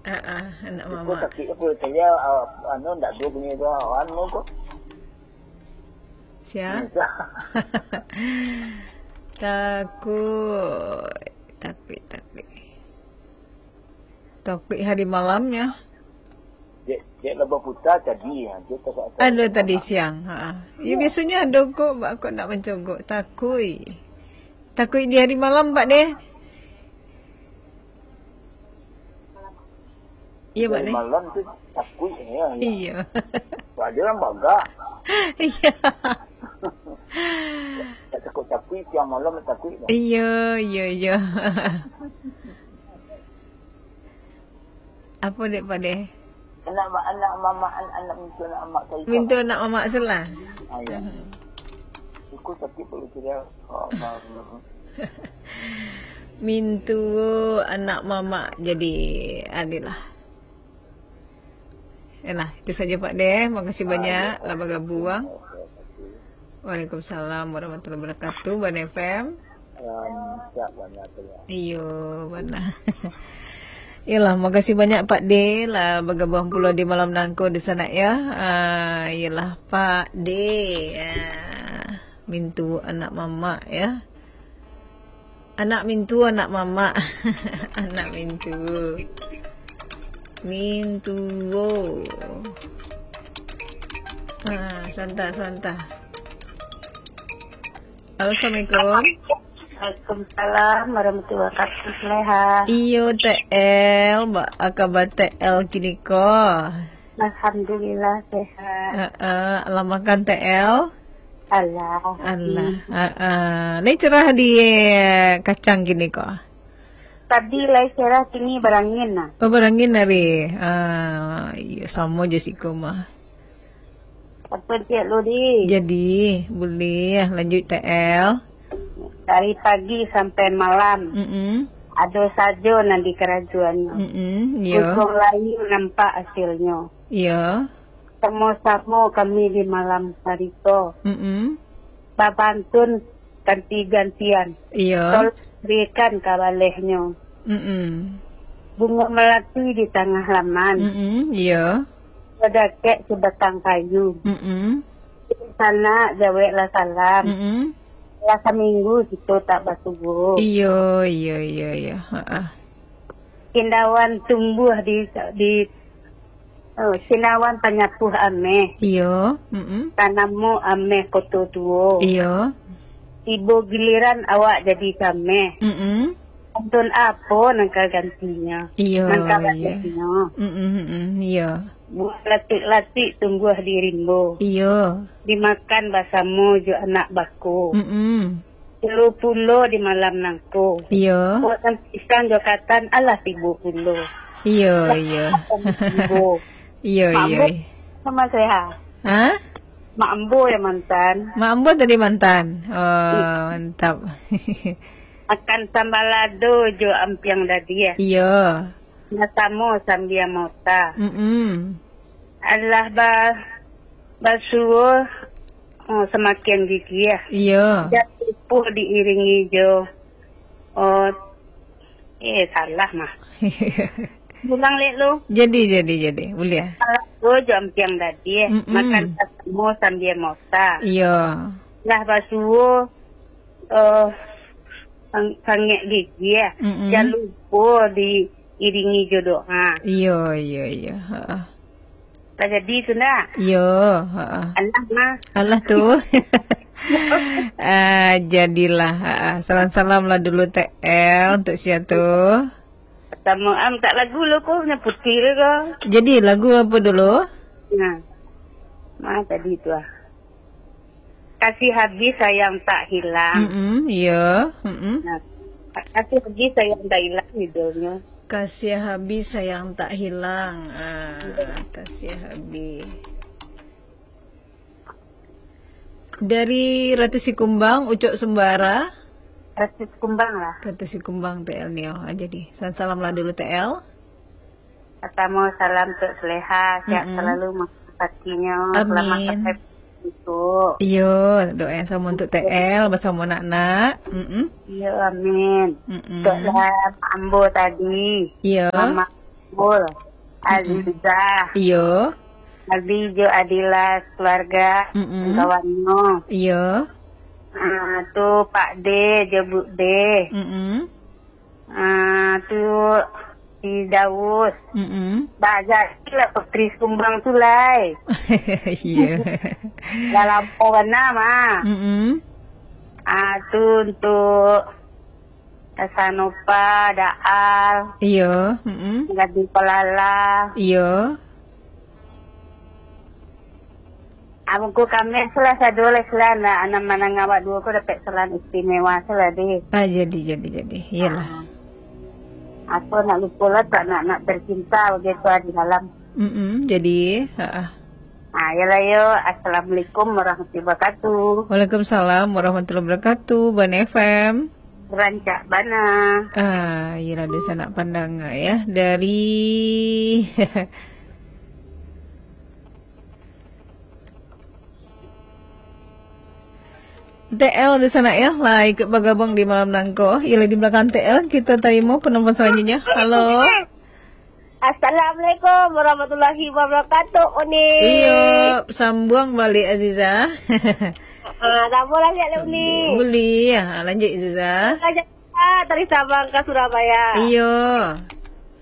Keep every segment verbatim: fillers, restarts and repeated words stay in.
Ah, ah, anak Iko mamak. Sakik apa? Saya, ah, anu, ndak dua punya tu, ah, anu ko. Sia? Bisa. Takuik, takuik, takuik. Takuik hari malamnya. Dek, dek lah baputa tadi, ya. Dia tak, tak, Ada tak tadi siang, ha. Ya, biasanya ada kok, bak kok nak mencogok. Takuik. Takuik di hari malam, Pak deh. Iya, Pak Dari deh. Malam tu takuik, ya, ya. Iya. Sebab dia orang bagak. Iya. Tak takut takuik, siang malam takuik dah. Iya, iya, iya. Apa dek, Pak deh? Anak ma-, anak mamak, anak, anak mintu anak mamak Saifah. Mintu anak mamak sebelah. Ah, ya. Iko sakik perut dia. Oh, maaf. Mintu anak mamak jadi adilah. Yalah, itu saja Pak deh. Makasih banyak lah bagabuang. Waalaikumsalam warahmatullahi wabarakatuh, Bana F M. Salam, siap, Bana, tu, ya. Iyo, Bana. Yalah, makasih banyak Pak deh lah bagabuang pulo di malam nangko di sana ya. Ah, yalah, Pak deh. Ah, mintu anak mamak ya. Anak mintu, anak mamak. Anak mintu. Mintuo. Ha, santa, santa. Halo, assalamualaikum. Waalaikumsalam warahmatullahi wabarakatuh. Leha. Iyo, T L. Ba-, aka ba T L kini ko. Alhamdulillah, sehat. Heeh, lah makan T L? Alah. Alah, heeh. Lai cerah di kacang kini ko? Tadi lai cerah, kini barangin nah. Oh, barangin hari. Ah, iyo, samo jo siko mah. Apa cek lu di? Jadi, buliah lanjut T L. Dari pagi sampai malam. Mm-mm. Ado sajo nan dikarajoannyo. Mm-mm, iyo. Usung layu nampak hasilnyo. Iyo. Samo-samo kami di malam hari ko. Mm-mm. Babantun ganti-gantian. Iyo. Tolong berikan ka balehnyo. Mm-mm. Bungo melati di tangah laman. Mm-mm, iyo. Badakek sabatang kayu. Mm-mm. Di sana jaweklah salam. Mm-mm. Lah saminggu kito tak basuo. Iyo, iyo, iyo, iyo. Ha-ah. Cindawan tumbuah di, di, oh, cindawan panyapuah ameh. Iyo, mm-mm. Tanamo ameh koto tuo. Iyo. Tibo giliran awak jadi cameh. Mm-mm. Antun apo nan ka gantinyo? Iyo, Nan ka iyo. Balehnyo? Mm-mm, mm-mm, iyo. Buah latik-latik tumbuah di rimbo. Iyo. Dimakan basamo jo anak bako. Mm-mm. Tibo pulo di malam nangko. Iyo. Buah nan pisang jo katan alah tibo pulo. Iyo, iyo. Tibo. Iyo, Mak iyo. Ambo, Mama Seha. Ha? Mak Ambo yang mantan. Mak Ambo tadi mantan. Oh, mantap. Makan sambalado jo ampiang dadiah. Iyo. Basamo sambia mota. Mm-mm. Alah ba-, basuo, oh, samakin gigiah. Iyo. Jan lupo diiringi jo, oh, eh, salah mah. Ulang lek lu. Jadi, jadi, jadi. Buliah. Sambalado jo ampiang dadiah. Mm-mm. Makan basamo sambia mota. Iyo. Lah basuo, eh, sang-, sangek gigiah. Mm-mm. Jan lupo diiringi jo doa. Iyo, iyo, iyo. Heeh. Lah jadi tu ndak? Iyo, heeh. Alah mah. Alah tu. Ah, jadilah. Heeh. Salam-salam lah dulu T L untuk sia tu. Samo am tak lagu lo ko, nyo putih lo ko. Jadi lagu apa dulu? Nah. Mah tadi tu ah. Kasih habis sayang tak hilang. Mm-mm, iya. Mm-mm. Nah, kasih habis sayang tak hilang judulnya. Kasih habis sayang tak hilang. Ah, kasih habis. Dari Ratu Sikumbang, Ucok Sembara. Ratu Sikumbang lah. Ratu Sikumbang T L Nio aja di. Salam lah dulu T L. Pertama, salam untuk Seleha, sehat Mm-mm. selalu, mengobatinya. Selamat Amin. sampai besok. Iyo, doa yang sama untuk T L bersama anak-anak. Mm-mm. Iyo, amin. Mm-mm. Untuk lah Ambo tadi. Iyo. Mama Saiful, Azizah, Iyo. Abi jo Adila, keluarga, Mm-mm. kawannyo. Iyo. Ah, tu Pak De jo Bu De. Mm-mm. Ah, tu si Daus. Mm-mm. Banyak lah Putri Sumbang tu, lai. Iyo. Dah lampau bana mah. Mm-mm. Ah, tu untuk Sanopa, Daal, Iyo. Mm-mm. Gadih Palala. Iyo. Abangku kami salah sado lah, salah anak, anak manang awak duo ko dapek salam istimewa salah deh. Ah, jadi, jadi, jadi. Iyalah. Ah. Apa nak lupa lah tak nak, nak tercinta begitu di dalam. Mm-mm, jadi, ha. Ah, iyalah yo. Assalamualaikum warahmatullahi wabarakatuh. Waalaikumsalam warahmatullahi wabarakatuh. Ban F M. Rancak bana. Ah, iyalah, dunsanak pandanga ya. Dari T L di sana ya, lah ikut bergabung di malam nangko. Iyalah, di belakang T L, kita tarimo penelpon selanjutnya. Halo. Assalamualaikum warahmatullahi wabarakatuh, Uni. Iyo, sambuang balik, Aziza. Ah, sambung lah, Uni. Boleh. Ah, lanjut, Aziza. Raja dari Sabang ka Surabaya. Iyo.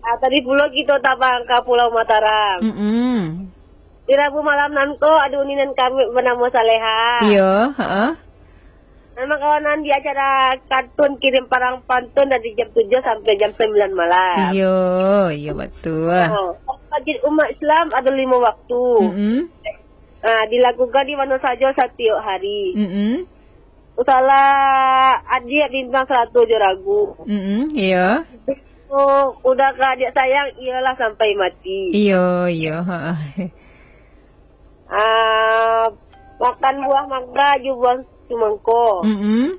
Ah, tadi pulo kito tabang ka Pulau Mataram. Mm-mm. Di Rabu malam nangko, ado Uni nan kami banamo Saleha. Iyo, ha. Nan makawanan di acara kantun kirim parang pantun dari jam tujuh sampai jam sembilan malam. Iyo, iyo, batua. Oh, wajib umat Islam ado limo waktu. Mm-mm. Ah, dilakukan di mano sajo satiok hari. Mm-mm. Usahlah adiak bintang saratu jo ragu. Mm-mm, iyo. Udah ka adiak sayang, iyolah sampai mati. Iyo, iyo, ha. Ah, makan buah mangga jo buah sumangko. Mm-mm.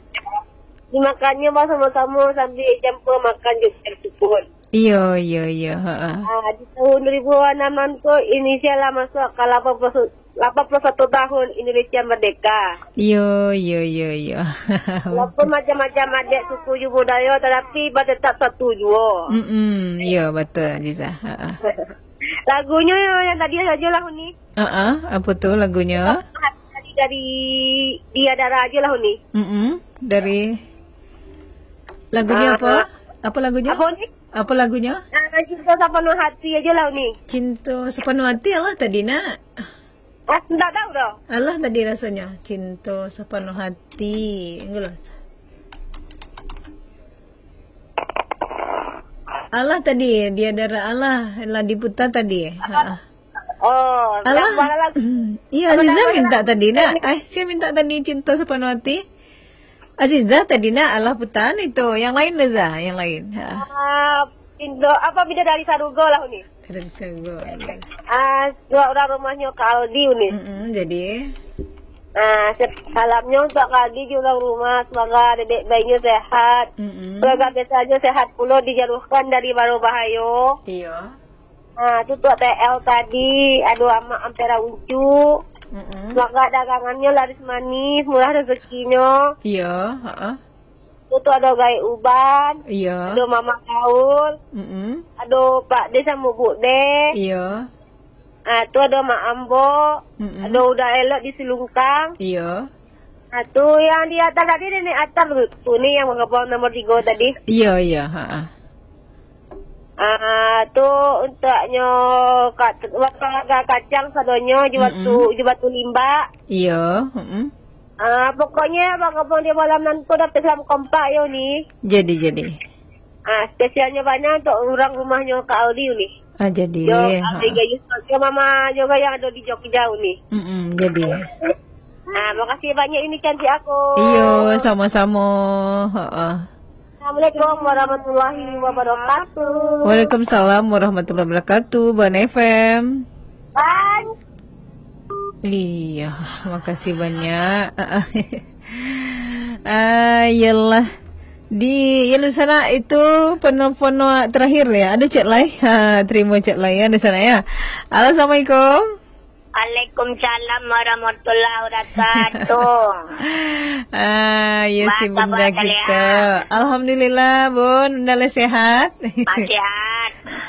Dimakannyo basamo-samo sambil jampa makan jo air sukun. Iyo, iyo, iyo, ha. Ah, di tahun dua ribu enam nangko, Indonesia lah masuak ka lapan puluh, lapan puluh satu tahun Indonesia merdeka. Iyo, iyo, iyo, iyo. Walaupun macam-macam adat, suku jo budayo, tatapi ba tetap satu juo. Mm-mm, iyo, batua, Aziza. Ha. Lagunyo yang tadi sajo lah, Uni. Ha, apa tu lagunyo? Tadi dari Dia Dara ajo lah, Uni. Mm-mm, dari lagunyo Ah, apa? ah. Apa lagunyo? Apa, Uni? Apa lagunyo? Ah, Cinta Sapanuah Hati ajo lah, Uni. Cinta Sapanuah Hati alah tadi, nak. Ah, ndak tahu doh. Alah tadi rasanya. Cinta Sapanuah Hati. Enggak lah. Alah tadi, Dia Dara alah lah diputar tadi. Ha. Oh, Alah. Yang mana lagu? Hmm. Iya, Apa Aziza nama minta dia? tadi, nak. Eh, saya minta tadi Cinta Sapanuah Hati. Aziza tadi, nak, alah putar itu. Yang lain, Aziza, yang lain. Ha. Ah, Indo, apa, Bidadari Sarugo lah, Uni. Bidadari Sarugo, iya. Ah, dua orang rumahnya Kak Aldi, Uni. Mm-mm, jadi? Ah, se-, salamnya untuk Kak Aldi juga rumah. Semoga dedek bayinya sehat. Mm-mm. Keluarga besarnya sehat pula, dijauhkan dari mara bahayo. Iya. Ah, tu Tok T L tadi, aduh, Amak Ampera Uncu. Mm-mm. Semoga dagangannya laris manis, murah rezekinya. Iya, heeh. Tu, tu ado Gaek Uban, Iya. ado Mama Gaul, Mm-mm. ado Pak De samo Buk De. Iya. Ah, tu ado Mak Ambo, Mm-mm. ado Uda Elok di Silungkang. Iya. Ah, tu yang di atas tadi, Nenek Atam tu, tu ni yang mangabang nomor tiga tadi. Iya, iya, ha, ha. Ah, tu untuknyo ka-, warga Kacang sadonyo, di Batu, Mm-mm. di Batu Limbak. Iya, mm-mm. Ah, pokoknyo, Bang Abang, di malam nanti dapek salam kompak yo, Uni. Jadi, jadi. Ah, spesialnyo banyak untuk urang rumahnyo Kak Aldi, Uni. Ah, jadi, Yo, ha. Aldi Gayus, yo, Mama juga yang ado di Jogja, Uni. Mm-mm, jadi. Ah, makasih banyak, Uni cantik aku. Iyo, sama-sama. Ha, ha. Assalamualaikum warahmatullahi wabarakatuh. Waalaikumsalam warahmatullahi wabarakatuh, Ban F M. Ban. Iya, makasih banyak. Ah, iyalah. Di, ya, di sana itu penuh-penuh terakhir ya. Ada chat lain. Ha, terima chat lain ya di sana ya. Halo, assalamualaikum. Waalaikumsalam warahmatullahi wabarakatuh. Ah, ya, si Bunda kita. Alhamdulillah, Bun. Bunda lah sehat. Masih sehat.